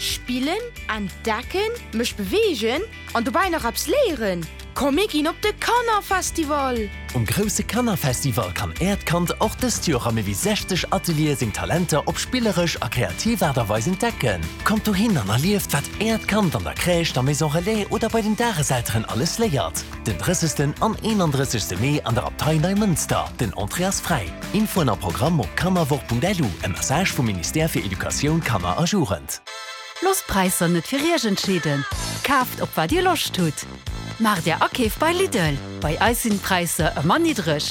Spillen, entdecken, mech beweegen an dobäi nach eppes léieren? Komm mir ginn op de Kannerfestival! Um grousse Kannerfestival kann Äert Kand och dëst Joer a méi wéi 60 Ateliere seng Talenter op spilleresch a kreativ Aart a Weis entdecken. Kommt dohin an erlieft, wat Äert Kand an der Crèche, der Maison Relais oder bei den Dageselteren alles léiert. Den 30. an 31. Mee an der Abtei Neimënster. Den Entrée ass fräi. Infoen a Programm op kannerwoch.lu, e Message vum Ministère fir Educatioun, Kanner a Jugend. Loosst d'Präisser net fir Iech entscheeden, kaaft op wat Dir Loscht hutt. Maacht Är Akeef bei Lidl, bei eis sinn d'Präisser ëmmer niddreg.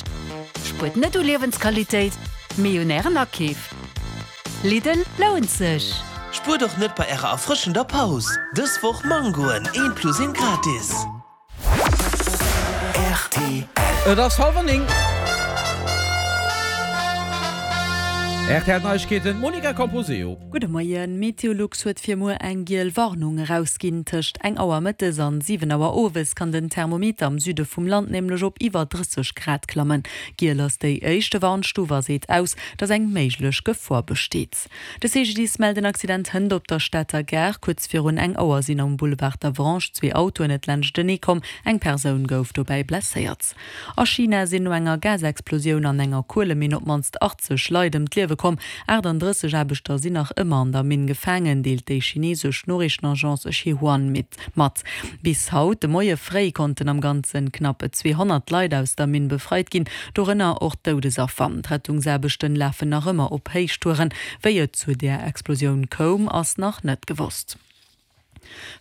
Spuert net u Liewensqualitéit, mee un Ären Akeef. Lidl lount sech! Spuert och net bei ärer erfrëschender Paus! Dës Woch Mangoen, eent plus eent gratis! Rtl. Et ass hallwer 9. RTL Neiegkeeten, d'Monica Camposeo. Gudde Moien. Meteolux huet fir muer eng giel Warnung erausginn. Tëscht eng Auer mëttes an 7 Auer owes kann den Thermometer am Süde vum Land nämlech op iwwer 30 Grad klammen. Giel ass déi éischte Warnstuf a seet aus, dass eng méiglech Gefor besteet. De CGDIS mellt en Accident hënt op der Stater Gare. Kuerz virun eng Auer sinn am Boulevard d'Avranches zwee Autoen net laanschtenee komm. Eng Persoun gouf dobäi blesséiert. A China sinn no enger Gasexplosioun an enger Kueleminn op d'mannst 80 Leit ëm d'Liewe komm. 38 Aarbechter sinn nach ëmmer an der Minn gefaangen, deelt déi chineesesch Noriichtenagence Xinhua mat. Bis haut de Moie fréi konnten am Ganze knapp 200 Leit aus der Minn befreit ginn, dorënner och Doudesaffer. D'Rettungsaarbechten lafen nach ëmmer op Héichtouren. Wéi et zu där Explosioun koum, ass nach net gewosst.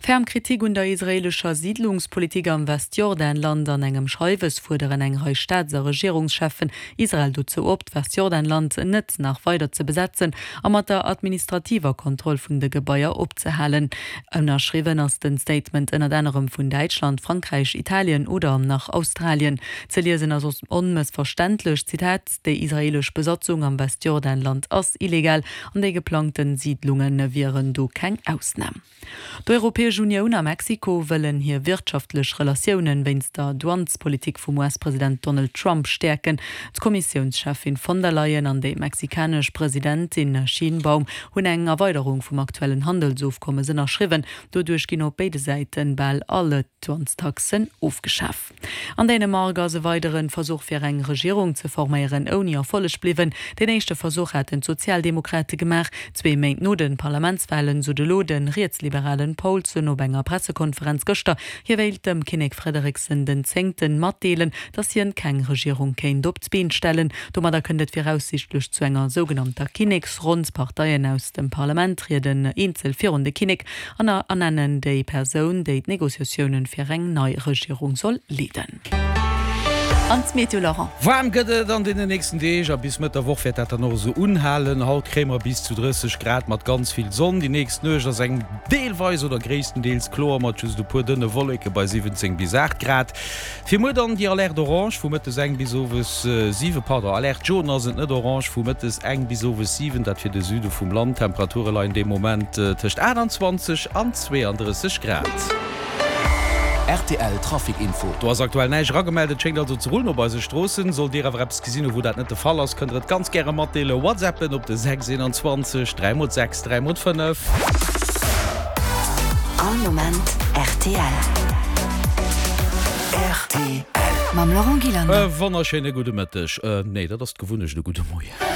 Ferm Kritik un der israeelescher Siidlungspolitik am Westjordanland. An engem Schreiwes fuerderen eng Rei Staats a Regierungscheffen Israel dozou op, d'Westjordanland net nach weider ze besetzen a mat der administrativer Kontroll vun de Gebaier opzehalen. Ënnerschriwwen ass den Statement ënnert anerem vun Däitschland, Frankräich, Italien oder nach Australien. Ze liesen ass onmëssverständlech, Zitat, Déi israeelesch Besatzung am Westjordanland ass illegal an déi geplangten Siidlunge wieren do keng Ausnam. D'Europäesch Unioun a Mexiko wëllen hir wirtschaftlech Relatiounen wéinst der Douanespolitik vum US-President Donald Trump stäerken. D'Kommissiounscheffin von der Leyen an déi mexikanesch Presidentin Sheinbaum hunn eng Erweiderung vum aktuellen Handelsofkommes ënnerschriwwen. Doduerch ginn op béide Säite bal all d'Douanestaxen ofgeschaf. An Dänemark ass e weidere Versuch fir eng Regierung ze forméieren ouni Erfolleg bliwwen. Deen éischte Versuch haten d'Sozialdemokrate gemaach. Zwee Méint no de Parlamentswalen sot elo de rietsliberalen Poulsen op enger Pressekonferenz gëschter, hie wéilt dem Kinnek Frederiksen den Zéngten matdeelen, datt hien keng Regierung kéint op d'Been stellen. Domadder kënnt et viraussiichtlech zu enger sougenannter Kinneksronn. D'Parteien aus dem Parlament trieden eenzel virun de Kinnek An ernennen déi Persoun, déi d'Negociatiounen fir eng nei Regierung soll leeden. An d'Meteo, Laurent? Waarm gëtt et an deenen nächsten Deeg a bis Mëtt der Woch wäert dat dann och esou unhalen. Haut kréie mer bis zu 30 Grad mat ganz vill Sonn. Déi nächst Nuecht ass eng deelweis oder gréisstendeels kloer mat just e puer dënne Wolleke bei 17 bis 8 Grad. Fir muer dann déi Alerte orange vu mëttes eng bis owes 7, pardon, Alerte jaune ass et, net orange, vu mëttes eng bis owes 7, dat fir de Süde vum Land. D'Temperature leien dee Moment tëscht 28 an 32 Grad. Rtl Trafic Info. Do ass aktuell näischt eragemellt, et schéngt also ze rullen op eise Stroossen. Sollt Dir awer eppes gesinn hu wou dat net de Fall ass, kënnt der et ganz gäre matdeelen. Whatsappen op de 6 21 3 x 6 3 x 5. All Moment rtl. Rtl. Mam Laurent Gillander. E wonnerschéine gudde Mëtteg. Nee, dat ass d'Gewunnecht, e gudde Moien.